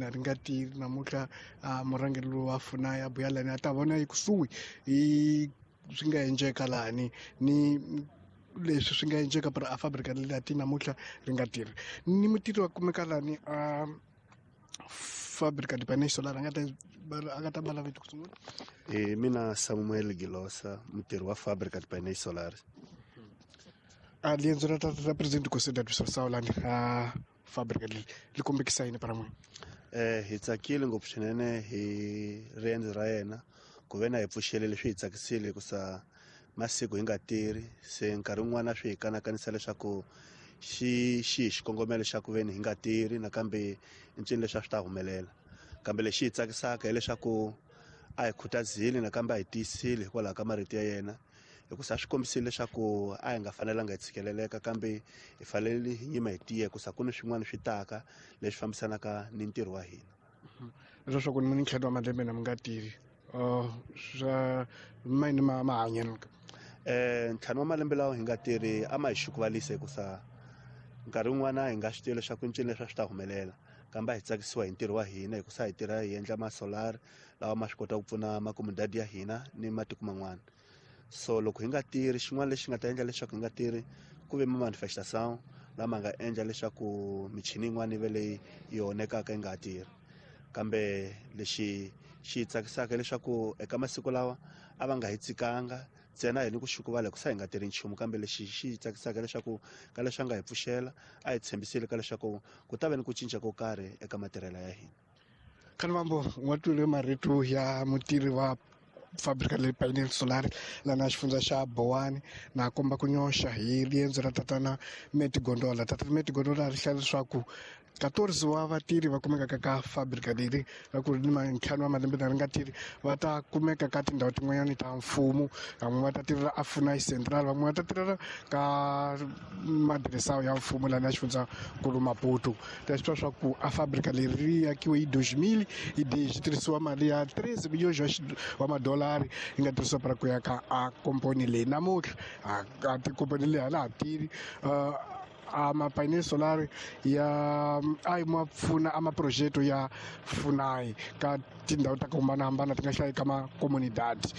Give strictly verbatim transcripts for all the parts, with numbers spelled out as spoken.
Na ri nga tirhi namuntlha murhangeri lowu wa FUNAI a buya lani a ta vona ekusuhi hi swi nga endleka lani ni leswi swi nga endleka para a fábrica leti namuntlha ri nga tirhi ni mutirhi wa kumeka lani a fábrica de painéis solar a nga ta a nga ta bala vito ku sungula. E mina Samuel Gilosa, mutirhi wa fábrica de painéis solar. A riendzo ra ra presidente Conselho de Administração lani a fábrica leri li kombekisa yini para n'wina? Eh hi tsakile ngopfu swinene hi riendzo ra yena ku ve na hi pfuxele leswi hi tsakisile hikusa masiku hi nga tirhi se nkarhi wun'wana swi hi kanakanisa leswaku xi xi hi xikongomelo xa ku veni hi nga tirhi nakambe i ncini leswi a swi ta humelela kambe lexi hi tsakisaka hileswaku a hi khutazile nakambe a hi tiyisile hikwalaho ka marito ya yena hikusa swi kombisile leswaku a hi nga fanelanga hi tshikeleleka kambe hi fanele hi nyima hi tiya hikusa ku ni swin'wana swi taka leswi fambisanaka ni ntirho wa hina. Leswaku ni ntlhanu wa malembe na mi nga tirhi swa mayini ma mahanyelo. Eh ntlhanu wa malembe lawa hi nga tirhi a ma hi xukuvalisa hikusa nkarhi wun'wana hi nga swi tivi leswaku ncini leswi a swi ta humelela kambe a hi tsakisiwa hi ntirho wa hina hikusa hi tirha hi endla ma-solar lawa ma swi kota ku pfuna makomodadi ya hina ni matiko man'wana. So loko hi nga tirhi xin'wana lexi nga ta endla leswaku hi nga tirhi ku ve ma-manifestation lama nga endla leswaku michini yin'wana yi ve leyi yi onhekaka yi nga ha tirhi kambe lexi xi tsakisaka leswaku eka masiku lawa a va nga hi tsikanga ntsena hi ni ku xukuvala hikusa hi nga tirhi nchumu kambe lexi xi tsakisaka leswaku ka leswi a nga hi pfuxela a hi tshembisile ka leswaku ku ta va ni ku cinca ko karhi eka matirhelo ya hina. Khanivambo wa twile marito ya mutirhi wa fábrica de painel solar lana xifundza xa Bowani na komba ku nyoxa hi riendzo ra tatana Meti Gondola. Tatana Meti Gondola ri hlaya leswaku quatorze wa vatirhi va kumekaka ka fábrica leri ra ku ri ni ntlhanu wa malembe na ri nga tirhi va ta kumeka ka tindhawu tin'wanyani ta mfumo van'we va ta tirhela a FUNAI Central van'we va ta tirhela ka madiresa ya mfumo lana xifundzankulu Maputo. Ta swi tiva swa ku a fábrica leri ri akiwe hi dois mil e dez tirhisiwa mali ya treze milhões wa madolari yi nga tirhisiwa para ku ya ka a komponi leyi namuntlha a tikomponi leyi a la ha tirhi a mapainel solar ya a yi ma pfuna a maprojeto ya FUNAI ka tindhawu ta ku hambanahambana ti nga hlayi ka makomunidadi.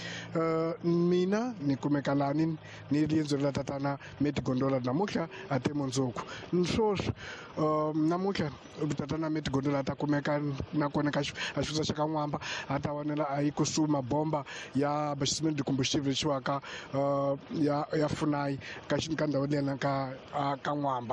Mina ni kumeka lani ni riendzo ra tatana Meti Gondola namuntlha a te mundzuku sweswi namuntlha tatana Meti Gondola a ta kumeka nakona ka a xifundza xa ka N'wamba a ta vonela a yi kusuhi mabomba ya abastecimento de combustível lexiwaka ya ya FUNAI ka ka ndhawu leyana ka ka N'wamba.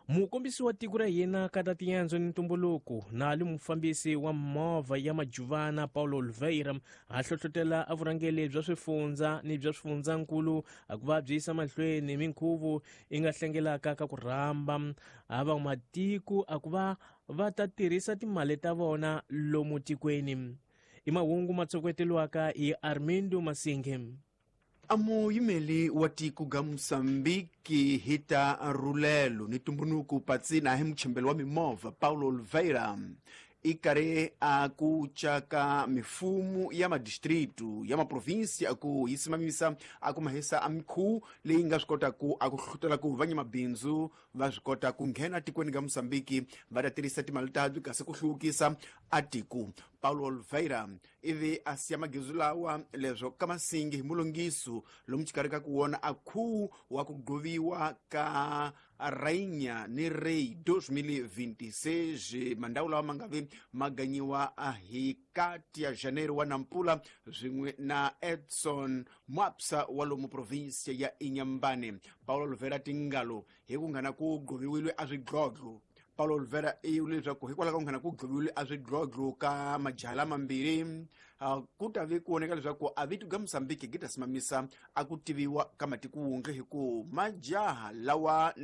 Mukombisi wa tiko ra hina ka ta tiendzo ni ntumbuluko na ali mufambisi wa movha ya Majuvana Paulo Oliveira a hlohlotela a vurhangeri bya swifundza ni bya swifundzankulu a ku va byi yisa mahlweni minkhuvo yi nga hlengelaka ka ku rhamba a van'wamatiko a ku va va ta tirhisa timali ta vona lomu tikweni. I mahungu ma tsokoteliwaka hi Armindo Masinge. A muyimeli wa tiko ga Mosambiki hi ta rhulelo ni ntumbuluko patsina hi muchembeli wa mimovha Paulo Oliveira i karhi a ku caka mifumo ya madistritu ya maprovinsi a ku yi simamisa a ku mahisa a mikhuvu leyi nga swi kotaku a ku hluhlutela ku vanyamabindzu va swi kota ku nghena tikweni ga Mosambiki va ta tirhisa timali tabyi kasi ku hluvukisa a tiko. Paulo Oliveira ivi a siya magezu lawa leswo ka masingi hi mulongiso lomu xikarhi ka ku wona a khuwu wa ku gqoviwa ka Rainha ni Rei dois mil e vinte e seis mandhawu lawa ma nga vi ma ganyiwa hi kati ya Janeiro wa Nampula swin'we na Edson Mwapsa wa lomu provinsia ya Inhambane. Paulo Oliveira tingalo hi ku nghena ku gqoviwile a swidlodlo. Paulo Oliveira i vule leswaku hikwalaho ka ku nghena ku gqoviwile a swidlodlo ka majaha lamambirhi ku ta vi ku voneka leswaku a vito ga Mosambiki gi ta simamisa a ku tiviwa ka matiko wundle hi ku majaha lawa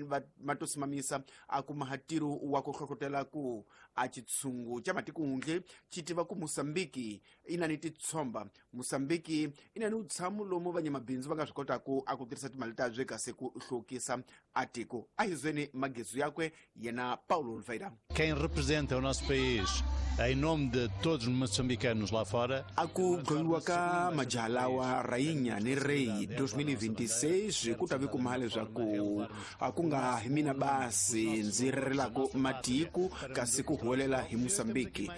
ma to simamisa a kuma ntirho wa ku hlohlotela ku a xitshungu xa matiko wundle xi tiva ku Mosambiki i na ni titshomba Mosambiki i na ni vutshamo lomu vanyamabindzu va nga swi kotaku a ku tirhisa timali ta bye kasi ku hluvukisa a tiko. A hi zweni magezu yakwe yena Paulo Oliveira. Quem representa o nosso país em nome de todos os moçambicanos lá fora a ku gqoviwa ka majaha lawa Rainha ni Rei dois mil e vinte e seis ku ta vi kuma leswaku a ku nga hi mina basi ndzi rirelaka matiko kasi ku huwelela hi Mosambiki.